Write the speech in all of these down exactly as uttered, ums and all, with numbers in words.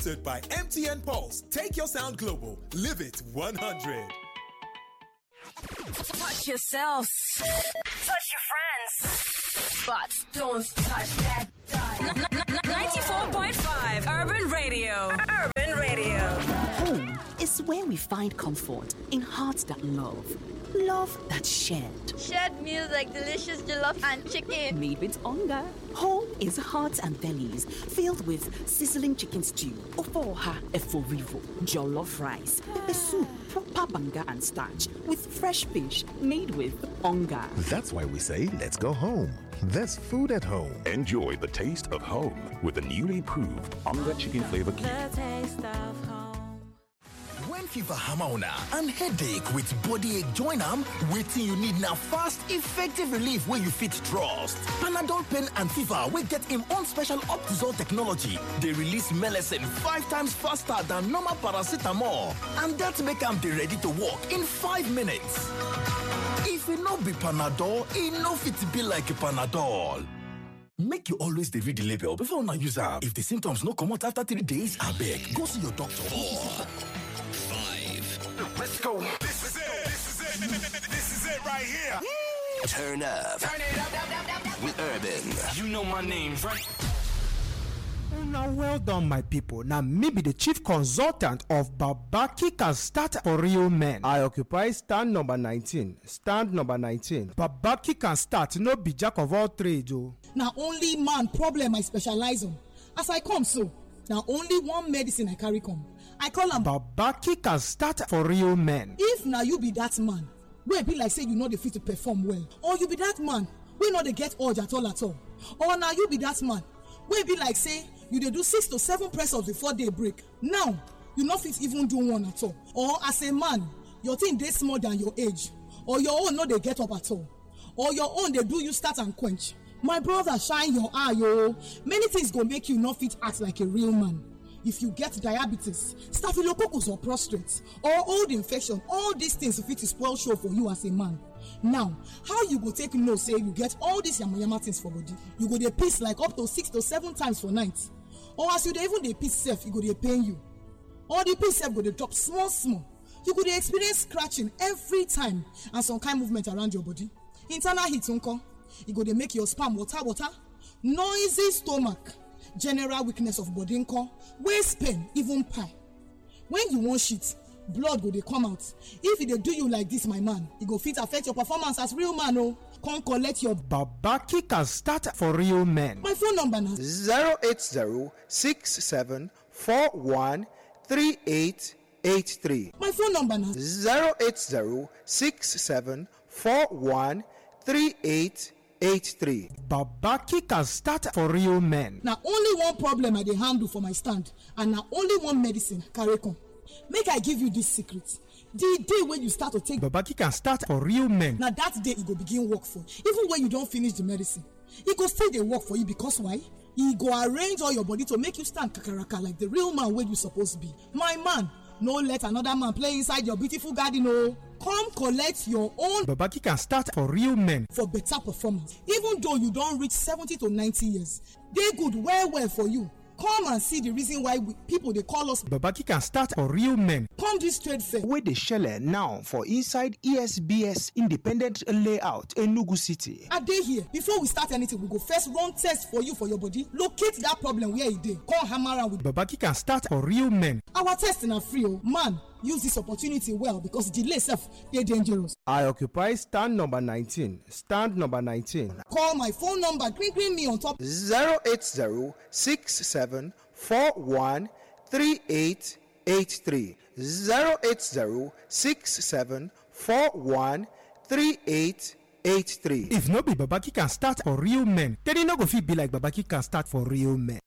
Sponsored by M T N Pulse. Take your sound global. Live it one hundred. Touch yourself. Touch your friends. But don't touch that dial. N- n- n- ninety-four point five Urban Radio. Urban Radio. Home is where we find comfort in hearts that love, love that shared. Shared meals like delicious jollof and chicken. Made with hunger. Home is hearts and bellies filled with sizzling chicken stew, ofoha eforivo, jollof rice, pepper soup, proper banga and starch with fresh fish made with hunger. That's why we say, "Let's go home." There's food at home. Enjoy the taste of home with the newly improved Onga Chicken Flavor Cube. The taste of home. When fever hammer una and headache with body ache join am, wetin you need na fast, effective relief wey you fit trust. Panadol pain and fever wey get im own special Optizol technology dey release melecine five times faster than normal paracetamol, and that make am dey ready to work in five minutes. If e no be Panadol, e no fit be like Panadol. Make you always dey read the label before una use am. If the symptoms no comot after three days, abeg go see your doctor. Four, five. Let's go. This is it. This is it. This is it right here. Turn up. Turn it up, up, up, up, up. With Urban. You know my name, right? Now, well done, my people. Now, me be the chief consultant of Babaki Can Start for Real Men. I occupy stand number nineteen. Stand number nineteen. Babaki Can Start, no be jack of all trades, oh. Na only man problem I specialize on. As I come so, na only one medicine I carry come. I call am Babaki Can Start for Real Men. If na you be that man wey be like say you no dey fit to perform well, or you be that man wey no dey get urge at all at all, or na you be that man wey be like say you dey do six to seven press ups before day break, now you no fit even do one at all, or as a man, your thing dey small than your age, or your own no dey get up at all, or your own dey do you start and quench. My brother, shine your eye, oh. Many things go make you no fit act like a real man. If you get diabetes, staphylococcus or prostate, or old infection, all these things fit to spoil show for you as a man. Now, how you go take know say you get all these yamayama things for body? You go dey piss like up to six to seven times for night. Or as you dey even dey piss sef, e go dey pain you. Or the piss sef go dey drop small small. You go dey experience scratching every time and some kind movement around your body. Internal heat nko? E go dey make your sperm water water. Noisy stomach. General weakness of body nko? Waist pain, even pie. When you wan shit, blood go dey come out. If e dey do you like this, my man, e go fit affect your performance as real man o. Come collect your Babaki Can Start for Real Men. My phone number na zero eight zero six seven four one three eight eight three. My phone number na zero eight zero six seven four one three eight eight three. Babaki Can Start for Real Men. Na only one problem I dey handle for my stand, and na only one medicine I carry come. Make I give you this secret. The day wey you start to take Babaki Can Start for Real Men, na that day e go begin work for you. Even when you don finish the medicine, e go still dey work for you, because why? E go arrange all your body to make you stand kakaraka like the real man wey you suppose be. My man, no let another man play inside your beautiful garden o. Come collect your own Babaki Can Start for Real Men for better performance. Even though you don reach seventy to ninety years, dey good well well for you. Come and see the reason why we, people dey call us Babaki Can Start for Real Men. Come this trade fair wey dey shele now for inside E S B S Independent Layout, Enugu City. I dey here. Before we start anything, we go first run test for you for your body, locate that problem where e dey, come hammer am with Babaki Can Start for Real Men. Our test na free o. Man, use this opportunity well, because delay sef dey dangerous. I occupy stand number nineteen. Stand number nineteen. Call my phone number, green green me on top. Zero eight zero six seven four one three eight eight three. Zero eight zero six seven four one three eight eight three. If no be Babaki Can Start for Real Men, then e no go fit be like Babaki Can Start for Real Men.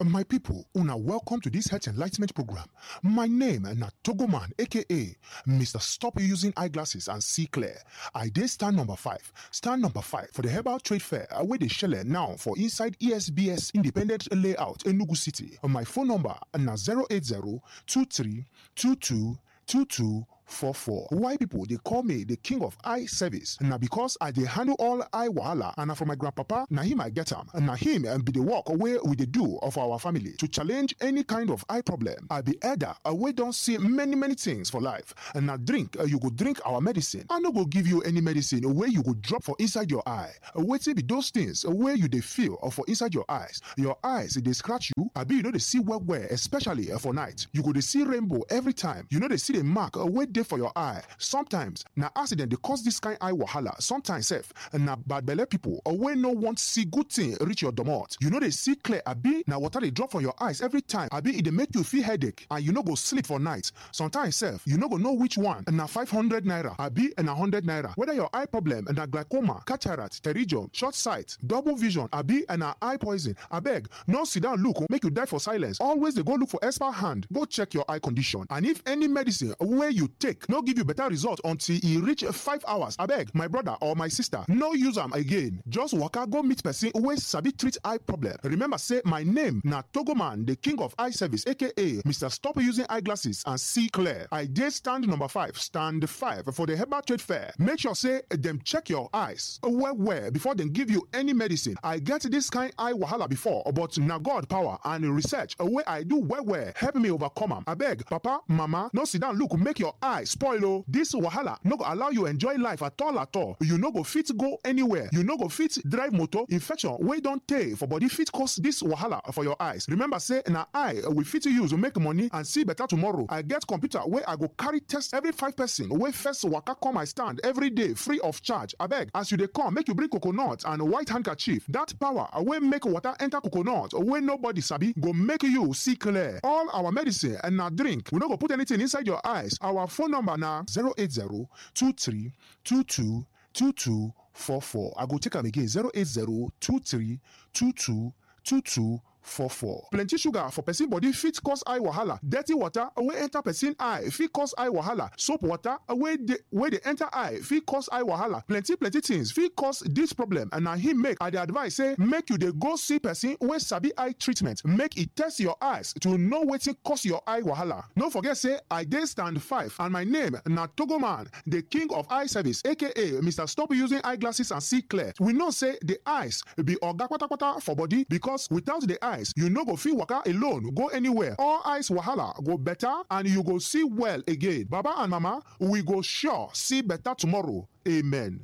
My people, una welcome to this health enlightenment program. My name na Togoman, A K A Mister Stop Using Eyeglasses and See Clear. I dey stand number five. Stand number five for the herbal trade fair, uh, wey dey shele now for inside E S B S Independent Layout, Enugu City. My phone number na zero eight zero two three two two two two four four. Why people dey call me the king of eye service? Na because I dey handle all eye wahala, and na from my grandpapa, na him I get am. Na him, um, be the work wey we dey do of our family to challenge any kind of eye problem. I be elder, uh, wey don see many, many things for life. And na drink, uh, you go drink our medicine. I no go give you any medicine wey you go drop for inside your eye. Uh, wetin be those things, uh, wey you dey feel, uh, for inside your eyes? Your eyes dey scratch you, abi you no dey see well well, especially, uh, for night. You go dey see rainbow every time. You no dey see the mark, uh, wey dey for your eye. Sometimes na accident dey cause this kind eye wahala. Sometimes sef, na bad belle people, uh, wey no want see good thing reach your domot. You no dey see clear, abi na water dey drop from your eyes every time, abi e dey make you feel headache and you no go sleep for night. Sometimes sef, you no go know which one na five hundred naira, abi na hundred naira. Whether your eye problem na glaucoma, cataract, pterygium, short sight, double vision, abi na eye poison, abeg, no sit down look, make you die for silence. Always dey go look for expert hand, go check your eye condition. And if any medicine wey you take no give you better result until e reach five hours, abeg, my brother or my sister, no use am again. Just waka go meet person wey sabi treat eye problem. Remember say my name na Togoman, the king of eye service, A K A Mister Stop Using Eyeglasses and See Clear. I dey stand number five, stand five for the Herbal Trade Fair. Make sure say dem check your eyes well well before dem give you any medicine. I get this kind eye wahala before, but na God power and research wey I do well well help me overcome am. Abeg, papa, mama, no sit down look make your eye spoil o. This wahala no go allow you enjoy life at all at all. You no go fit go anywhere. You no go fit drive motor. Infection wey don tey for body fit cause this wahala for your eyes. Remember say na eye we fit use make money and see better tomorrow. I get computer wey I go carry test every five person wey first waka come my stand every day free of charge. Abeg, as you dey come, make you bring coconut and white handkerchief. That power wey make water enter coconut wey nobody sabi go make you see clear. All our medicine and na drink. We no go put anything inside your eyes. Our phone number na zero eight zero two three two two two two four four. I go take am again, zero eight zero two three two two two two four four. Plenty sugar for person body fit cause eye wahala. Dirty water wey enter person eye fit cause eye wahala. Soap water wey dey, wey dey enter eye fit cause eye wahala. Plenty, plenty things fit cause this problem, and na him make I dey advise say make you dey go see person wey sabi eye treatment, make e test your eyes to know wetin cause your eye wahala. No forget say I dey stand five, and my name na Togoman, the king of eye service, A K A Mister Stop Using Eyeglasses and See Clear. We know say the eyes be oga patapata for body, because without the eyes, you no go fit waka alone go anywhere. All eyes wahala go better, and you go see well again. Baba and mama, we go sure see better tomorrow. Amen.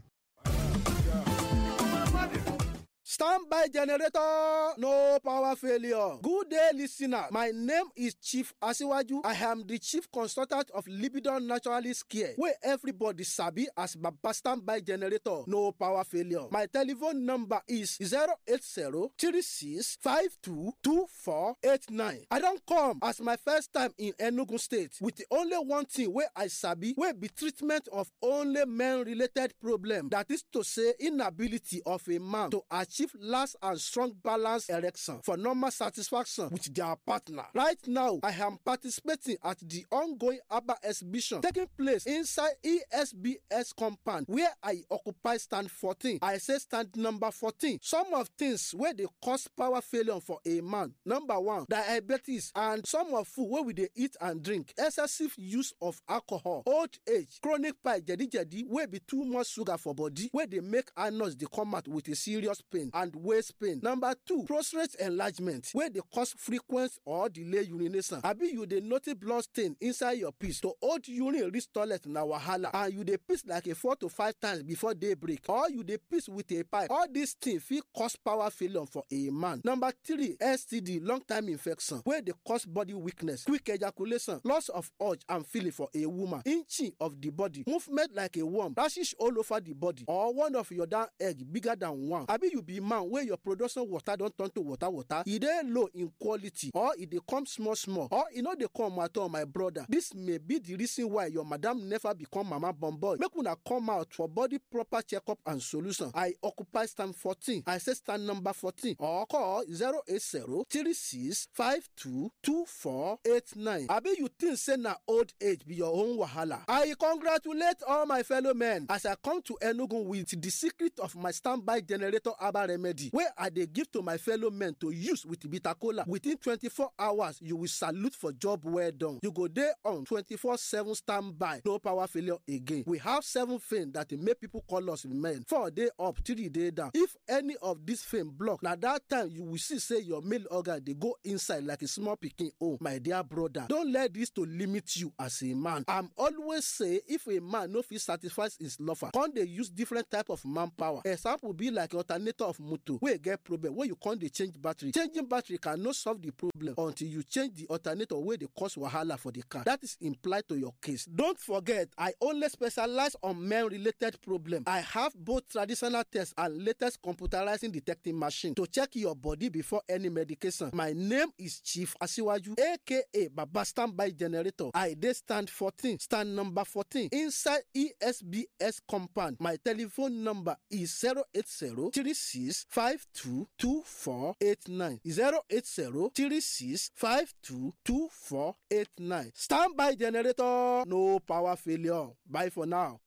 Standby generator, no power failure. Good day, listener. My name is Chief Asiwaju. I am the chief consultant of Libidon Naturalist Care, where everybody sabi as Baba Standby Generator, no power failure. My telephone number is zero eight zero three six five two two four eight nine. I don come as my first time in Enugu State with the only one thing wey I sabi, wey be treatment of only men-related problem. That is to say, inability of a man to achieve last and strong balance erection for normal satisfaction with their partner. Right now, I am participating at the ongoing Abba exhibition taking place inside E S B S compound, where I occupy stand fourteen. I say stand number fourteen. Some of things wey dey cause power failure for a man. Number one, diabetes and some of food wey we dey eat and drink, excessive use of alcohol, old age, chronic pie, jedi jedi wey be too much sugar for body, wey dey make anus dey come out with a serious pain and waist pain. Number two, prostate enlargement wey dey cause frequent or delay urination. Abi you dey notice blood stain inside your piss to hold urine reach toilet na wahala, and you dey piss like a four to five times before daybreak, or you dey piss with a pipe. All these things fit cause power failure for a man. Number three, S T D, long time infection wey dey cause body weakness, quick ejaculation, loss of urge and feeling for a woman, inching of the body, movement like a worm, rashes all over the body, or one of your down egg bigger than one. Abi you be man wey your production water don turn to water water, e dey low in quality, or e dey come small small, or e no dey come at all, my brother. This may be the reason why your madam never become mama born boy. Make una come out for body proper checkup and solution. I occupy stand fourteen. I say stand number fourteen, or call zero eight zero three six five two two four eight nine. Abi you think say na old age be your own wahala? I congratulate all my fellow men as I come to Enugu with the secret of my standby generator herbal remedy wey I dey give to my fellow men to use with bitter kola. Within twenty-four hours, you will salute for job well done. You go dey on twenty-four seven standby, no power failure again. We have seven fame that dey make people call us men. Four dey up, three dey down. If any of this fame block, na that time you will see say your male organ dey go inside like a small pikin own. My dear brother, don't let this to limit you as a man. I'm always say, if a man no fit satisfy his lover, come dey use different type of manpower. Example be like alternator of motor wey get problem, wey you come dey change battery. Changing battery cannot solve the problem until you change the alternator wey dey cause wahala for the car. That is implied to your case. Don't forget, I only specialize on men related problem. I have both traditional tests and latest computerizing detecting machine to check your body before any medication. My name is Chief Asiwaju, A K A Baba Standby Generator. I dey stand fourteen, stand number fourteen inside E S B S compound. My telephone number is zero eight zero three six five two two four eight nine. Zero eight zero three six five two two four eight nine. Standby Generator, no power failure. Bye for now.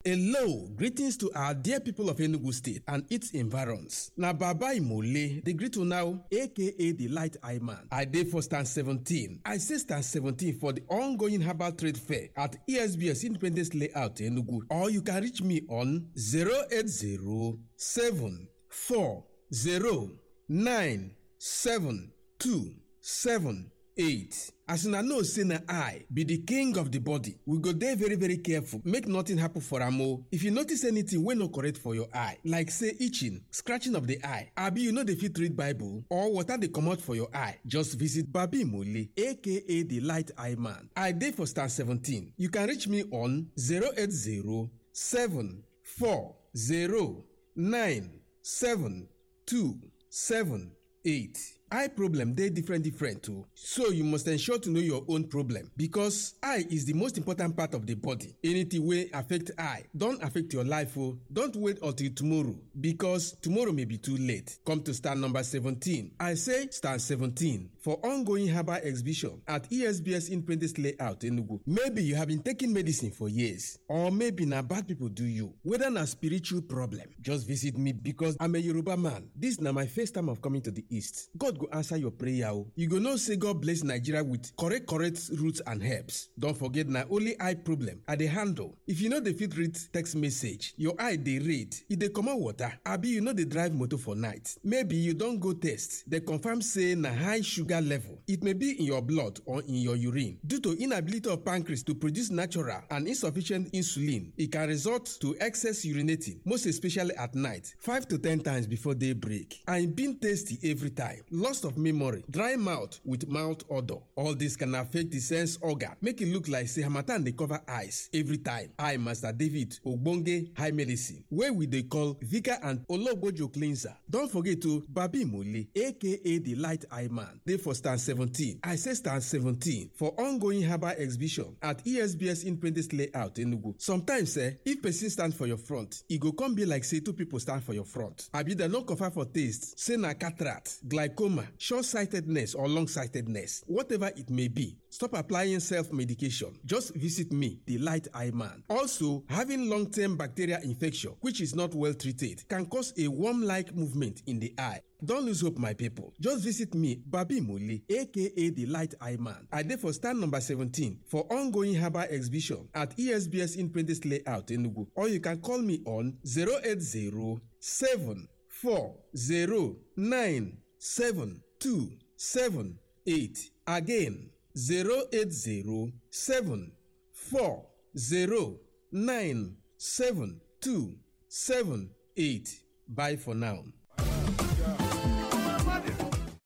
Hello, greetings to our dear people of Enugu State and its environs. Na Baba Imole, the greet now, A K A the Light Eye Man. I dey for stand seventeen. I say stand seventeen for the ongoing herbal trade fair at E S B S Independence Layout, Enugu. Or you can reach me on zero eight zero seven four zero nine seven two seven eight. As una know say na I be the king of the body, we go dey very, very careful, make nothing happen for am o. If you notice anything wey no correct for your eye, like say itching, scratching of the eye, abi you no dey fit read Bible, or water dey comot for your eye, just visit Babi Mole, A K A the Light Eye Man. I dey for stand seventeen. You can reach me on zero eight zero seven four zero nine seven two seven eight. Eye problem dey different different o, so you must ensure to know your own problem, because eye is the most important part of the body. Anything wey affect eye don affect your life o. Don't wait until tomorrow, because tomorrow may be too late. Come to stand number seventeen. I say stand seventeen for ongoing herbal exhibition at E S B S Independence Layout, Enugu. Maybe you have been taking medicine for years, or maybe na bad people do you. Whether na spiritual problem, just visit me, because I'm a Yoruba man. This na my first time of coming to the East. God go answer your prayer o. You go know say God bless Nigeria with correct, correct roots and herbs. Don't forget, na only eye problem I dey handle. If you no dey fit read text message, your eye dey red, e dey comot water, abi you no dey drive motor for night. Maybe you don go test, dem confirm say na high sugar level. It may be in your blood or in your urine. Due to inability of pancreas to produce natural and insufficient insulin, it can result to excess urinating, most especially at night, five to ten times before daybreak. And being tasty every time, loss of memory, dry mouth with mouth odor. All this can affect the sense organ, make it look like say harmattan dey cover eyes every time. I, Master David Ogbonge High Medicine, wey we dey call Vika and Ologbojo Cleanser. Don't forget to Babi Mole, A K A the Light Eye Man, dey for stand seventeen. I say stand seventeen for ongoing herbal exhibition at E S B S Independence Layout, Enugu. Sometimes, eh, if person stand for your front, e go come be like say two people stand for your front. Abi dem no confirm for taste, say na cataract, glaucoma, short-sightedness or long-sightedness, whatever it may be. Stop applying self-medication. Just visit me, the Light Eye Man. Also, having long-term bacterial infection, which is not well treated, can cause a worm-like movement in the eye. Don't lose hope, my people. Just visit me, Babi Mole, A K A the Light Eye Man. I dey for stand number seventeen for ongoing herbal exhibition at E S B S Independence Layout, Enugu. Or you can call me on zero eight zero seven four zero nine seven two seven eight. Again, zero eight zero seven four zero nine seven two seven eight. Bye for now.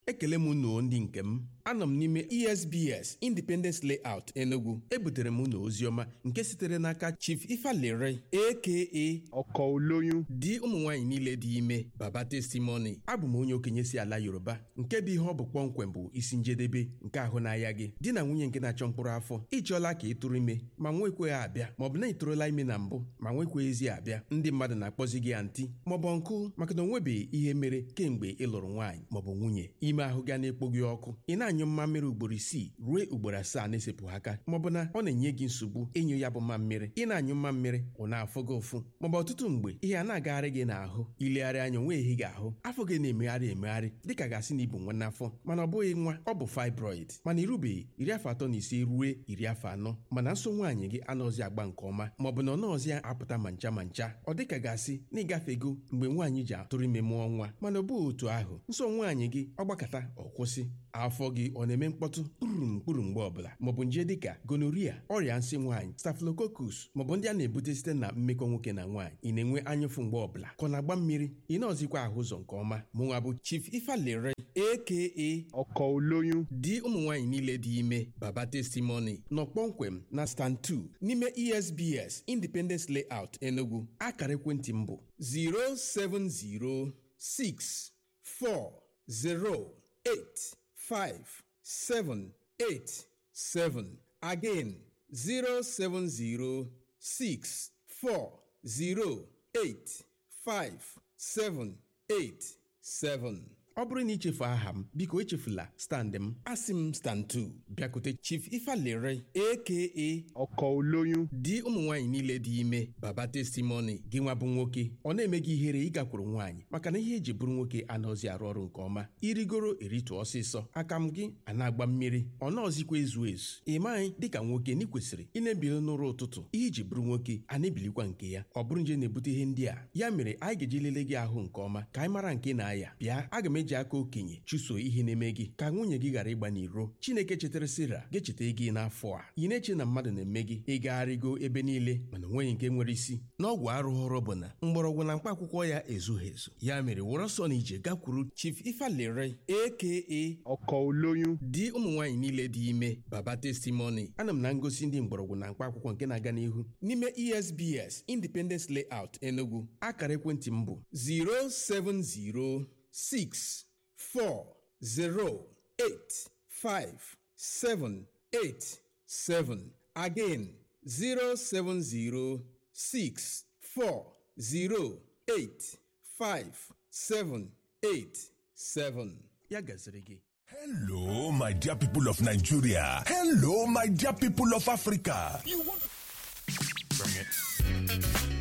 Ekele m unu, ndị nke m. Anọ m n'ime E S B S Independence Layout, Enugu. Ebutere m unu oziọma nke sitere n'aka Chief Ifalere, A K A Ọkọ Oloyun, di ụmụ nwaanyị niile dị ime, Baba Testimony. Abụ m onye okenye si ala Yoruba, nke bụ ihe ọ bụ kpọmkwem bụ isi njedebe nke ahụ na-aya gị. Di na nwunye nke na-achọ mkpụrụ afọ, ịchọọla ka ị tụrụ ime, ma nwekweghị abịa, maọbụ na ị tụrụla ime na mbụ, ma nwekweghịzi abịa. Ndị mmadụ na-akpọzi gị anti maọbụ ọnkụ, maka na o nwebeghị ihe mere kemgbe ị lụrụ nwaanyị maọbụ nwunye. Ime ahụ ga na-ekpo gị ọkụ, ị na-anyụ mmammiri ugboro isii ruo ugboro asaa na-esepụghị aka, maọbụ na ọ na-enye gị nsogbu ịnyụ ya bụ mmammiri. Ị na-anyụ mmammiri, ọ na-afụ gị ụfụ, maọbụ ọtụtụ mgbe ihe a na-agagharị gị n'ahụ. Ilegharị anya, o nweghị gị ahụ, afọ gị na-emegharị emegharị dịka gasị na ibu nwa n'afọ, mana ọ bụghị nwa, ọ bụ fibroid. Mana irubeghị iri afọ atọ na ise ruo iri afọ anọ, mana nso nwaanyị gị anọzi agba nke ọma, maọbụ na ọ nọọzi apụta ma ncha ma ncha. Ọ dịka gasị na ịgafego mgbe nwaanyị ji atụrụ ime mụọ nwa, mana ọ bụghị otu ahụ. Nso nwaanyị gị ọ gbakata, ọ kwụsị. Afọ gị ọ na-eme mkpọtụ kpurum kpurum mgbe ọbụla, maọbụ nje dịka gonorrhea, ọrịa nsị nwaanyị, staphylococcus, maọbụ ndị a na-ebute site na mmekọ nwoke na nwaanyị. Ị na-enwe anyụfụ mgbe ọbụla, ka ọ na-agba mmiri, ị na-ọzikwa ahụ ụzọ nke ọma. Mụnwa bụ Chief Ifalere, A K A Ọkọ Oloyun. Di ụmụ nwaanyị niile dị ime, Baba Testimony, nọ kpọmkwem na stand two n'ime E S B S Independence Layout, Enugu. Akara ekwentị m bụ zero seven zero six four zero eight five seven eight seven. Again, zero seven zero six four zero eight five seven eight seven. Ọ bụrụ na i chefu aha m, biko echefula stand m. Asị m stand two. Bịakute Chief Ifalere, A K A Ọkọ Oloyun. Di ụmụ nwaanyị niile dị ime, Baba Testimony, gị nwa bụ nwoke, ọ na-eme gị ihere ịgakwuru nwaanyị, maka na ihe eji bụrụ nwoke anaghịzi arụ ọrụ nke ọma. Irigoro eritụ ọsịsọ, aka m gị a na-agba mmiri, ọ nọọzikwa ezu ezu. Ị maghị dịka nwoke na ị kwesịrị ị na-ebili n'ụra ụtụtụ, ihe iji bụrụ nwoke a na-ebilikwa nke ya. Ọ bụrụ nje na-ebute ihe ndị a, ya mere anyị ga-eji lele gị ahụ nke ọma ka anyị mara nke na-aya. Bịa, aga m eji aka okenye chụso ihe na-eme gị, ka nwunye gị ghara ịgba n'iro. Chineke chetara Sera ga-echeta gị n'afọ a. Ị na-eche na mmadụ na-eme gị ịgagharịgo ebe niile, mana o nweghị nke nwere isi. N'ọgwụ arụghọrọ bụ na mgbọrọgwụ na mkpa akwụkwọ ya ezughị ezu. Ya mere, wụrụ ọsọ na ije gakwuru Chief Ifalere, A K A Ọkọ Oloyun. Di ụmụ nwaanyị niile dị ime, Baba Testimony. Ana m na ngosi ndị mgbọrọgwụ na mkpa akwụkwọ nke na-aga n'ihu n'ime E S B S Independence Layout, Enugu. Akara ekwentị m bụ zero seven zero six four zero eight five seven eight seven. Again, zero seven zero six four zero eight five seven eight seven. Ya gaziri gị. Hello, my dear people of Nigeria. Hello, my dear people of Africa. You want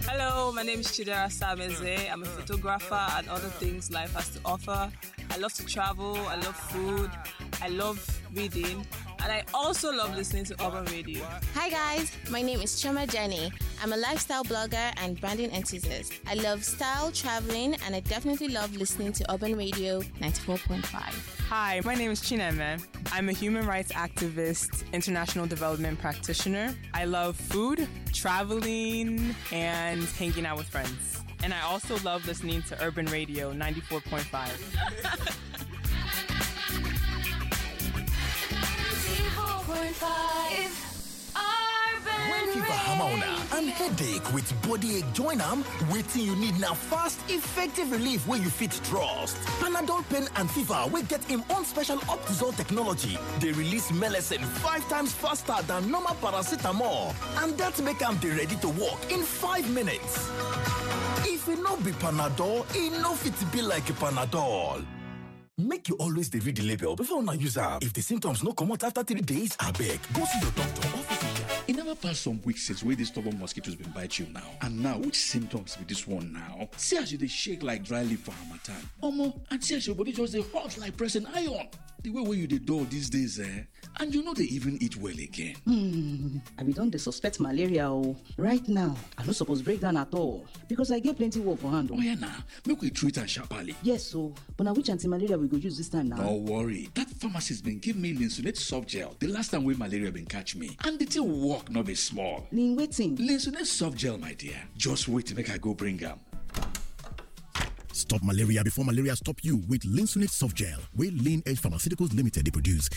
Hello, my name is Chidera Sameze. I'm a photographer and other things life has to offer. I love to travel. I love food. I love reading. And I also love listening to Urban Radio. Hi guys, my name is Choma Jenny. I'm a lifestyle blogger and branding enthusiast. I love style, traveling, and I definitely love listening to Urban Radio ninety-four point five. Hi, my name is Chineme. I'm a human rights activist, international development practitioner. I love food, traveling, and hanging out with friends. And I also love listening to Urban Radio ninety-four point five. When fever hammer on and headache with body ache join am, wetin you need na fast, effective relief wey you fit trust. Panadol pain and fever wey get im own special Optizol technology dey release melecine five times faster than normal paracetamol, and that make am dey ready to work in five minutes. If e no be Panadol, e no fit be like Panadol. Make you always dey read the label before una use am. If the symptoms no comot after three days, abeg go see your doctor or physician. E never pass some weeks since wey these stubborn mosquitoes been bite you now. And now, which symptoms be this one now? See as you dey shake like dry leaf for harmattan. Omo, and see as your body just dey hot like pressing iron. The way wey you dey dull these days, eh? And you no dey even eat well again. Hmm, I be don dey suspect malaria o. Right now, I no suppose break down at all because I get plenty work for hand o. Oya na, make we treat am sharply. Yes o, but na which anti-malaria we go use this time now? No worry, that pharmacist been give me Linsunate soft gel the last time wey malaria been catch me, and the thing work no be small. Lin wetin? Linsunate soft gel, my dear. Just wait make I go bring am. Stop malaria before malaria stop you with Linsunate soft gel, wey Lean Edge Pharmaceuticals Limited dey produce.